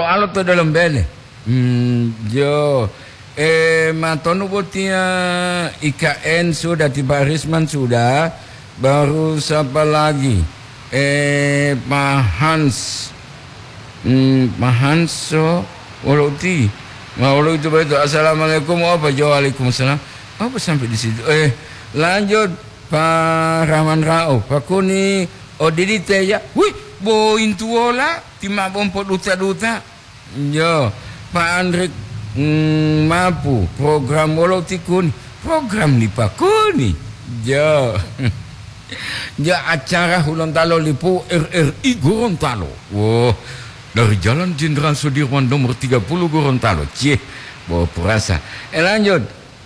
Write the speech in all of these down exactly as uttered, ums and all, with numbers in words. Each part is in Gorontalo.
Alo to dalam bele. Hmm, jo. Eh, matonu botia I K N sudah, tiba Risman sudah. Baru siapa lagi? Eh, Pak Hans. Hmm, Pak Hans, so, wolo uti. Ma wolo itu betul. Assalamualaikum. Oh, Pak Jo, waalaikumsalam. Apa sampai di situ? Eh, lanjut, Pak Rahman Rauf. Pak Kuni, odidite ya. Wih, bointuola, timabompo duta-duta. Jo, Pak Andrik, mm, mapu, program wolo ti Kuni? Program li Pak Kuni. Jo. Jo, acara Hulontalo lipu R R I Gorontalo. Woh, dari Jalan Jenderal Sudirman nomor tiga puluh Gorontalo. Cie, bawa perasa. Eh, lanjut.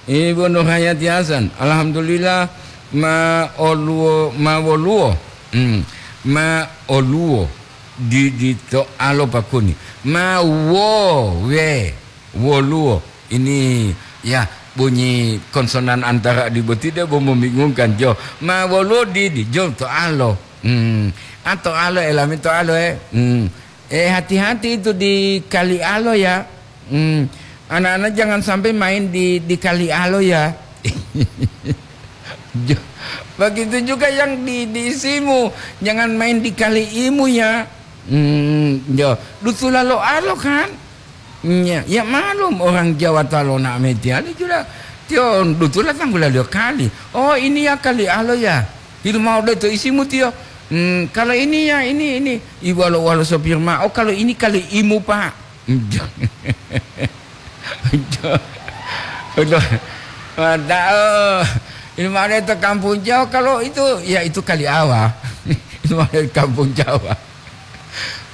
Ibu Nurhayati Hasan, alhamdulillah, ma oluwo, ma woluwo, hmm, ma oluwo di, di to alo Pak Kuni, ma wo, we, woluwo. Ini, ya, bunyi konsonan antara di boti debo membingungkan, jo. Ma woluwo di, di, jo, to alo. Hmm, a to alo, elami to alo, eh. Hmm. Eh, hati-hati itu di kali alo ya. Hmm. Anak-anak jangan sampai main di, di kali alo ya. Jo, begitu juga yang di, di isimu, jangan main di kali imu ya. Hmm, jo, dutula lo alo kan? Ya, ya malum orang Jawa talona metiali juga. Tio dutula tanggula dio kali. Oh, ini ya kali alo ya. Hilu mau de to isimu tio. Hmm, kalau ini ya, ini, ini. Iwalo-walo sopir ma. Oh, kalau ini kali imu, Pak. Udah. Udah. Padahal ini mana itu kampung Jawa, kalau itu, ya itu kali awa. Ini mana kampung Jawa.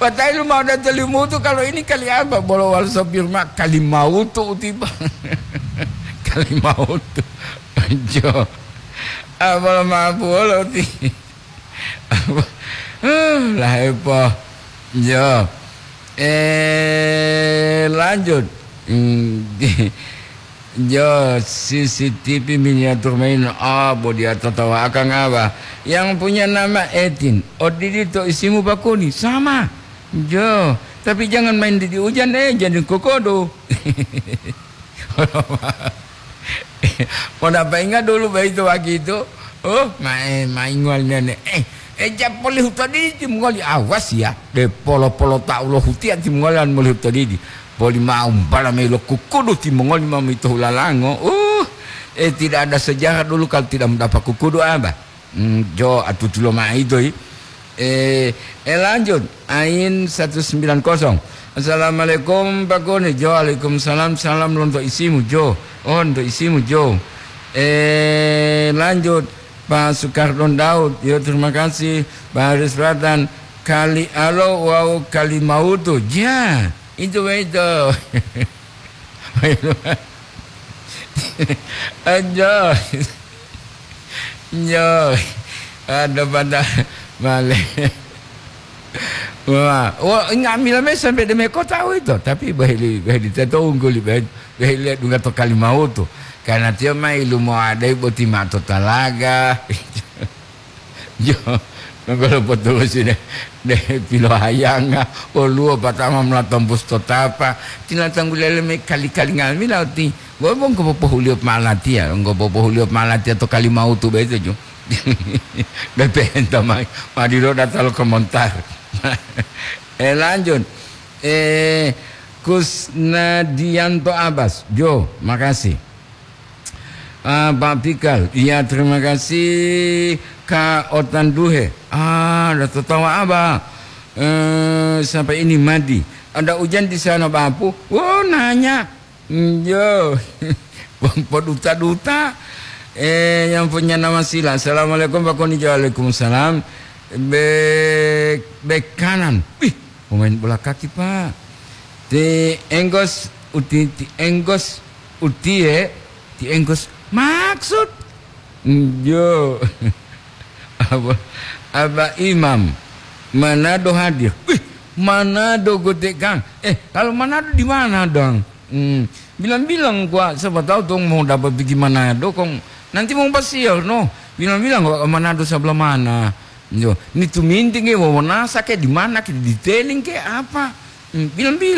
Padahal mau datang Limutu, kalau ini kali apa? Bolo wal sopir ma kali mautu tiba. Kali mautu. Jo. Ah, bolo maaf bolo ti. Lah, epo. Jo. Eh, lanjut. Hmm, di-, jo, C C T V miniatur main. Ah, bo dia tatawa akang apa? Yang punya nama Etin. Odidi to isimu Pak Kuni. Sama. Jo, tapi jangan main di, di hujan, eh, jadi kokodo. Mau dapat ingat dulu bayi itu waktu itu. Oh, main, main ngual nene. Eh, eh, ja poli huto didi timongoli, awas ya. De polo-polo tau lo hutia timongoli an moli huto didi. Poli mau bala melo kukudu timongoli mau mito hulalango. Uh, eh, tidak ada sejarah dulu kalau tidak mendapat kukudu, apa? Hmm, jo, atutulo maido, i. Eh, eh, lanjut. Ain satu sembilan kosong. Assalamualaikum, Pak Kuni. Jo, waalaikumsalam. Salam lonto isimu, Jo. Oh, lonto isimu, Jo. Eh, lanjut. Pak Sukardon Daud. Yo, terima kasih. Pak Haris Pratan. Kali alo wau kali mautu. Ja, itu, itu. Anjay. Nyo. Ada pada male. Wah, wah, nga'amila me sampai deme kota itu, tapi bahili, bahili teto ungguli, bahili, bahili dunga to Kalimautu. Karena tiyo mai lumo adai boti mato talaga. Jo, nonggolo potulusi de, de pilohayanga, woluwo patama mlatombus to tapa, tinatanggu lele me kali-kali nga'amila oti, bo bongko popohuliyo malatiya, bongko popohuliyo malatiya to Kalimautu boyito, jo. Bepenta mai, madilo data lo komentar. Eh, lanjut. Eh, Kusnadianto Abbas, jo, makasih. Ah, Pak Pikal, iya, terima kasih, Kak Otan Duhe. Ah, ada tertawa apa? Eh, sampai ini Madi. Ada hujan di sana, Bapu? Oh, nanya. Njo. Poduta-duta. Eh, yang punya nama Sila. Assalamualaikum, Pak Konijo. Waalaikumsalam. Bek, bek kanan. Wih, pemain bola kaki, Pak. Ti Enggos, uti, ti Enggos, utie, ti Enggos. Maksud? Njo. Apa, apa Imam? Manado hadir. Wih, Manado gotek, Kang. Eh, kalau Manado di mana, Dang? Hmm, bilang-bilang gua, siapa tahu tuh mau dapat pergi Manado, Kong. Nanti mau pasiar, no. Bilang-bilang gua ke Manado sebelah mana. Yo, ini tuh minting ke, Wawonasa ke, di mana ke, di Teling ke, apa? Hmm, bilang-bilang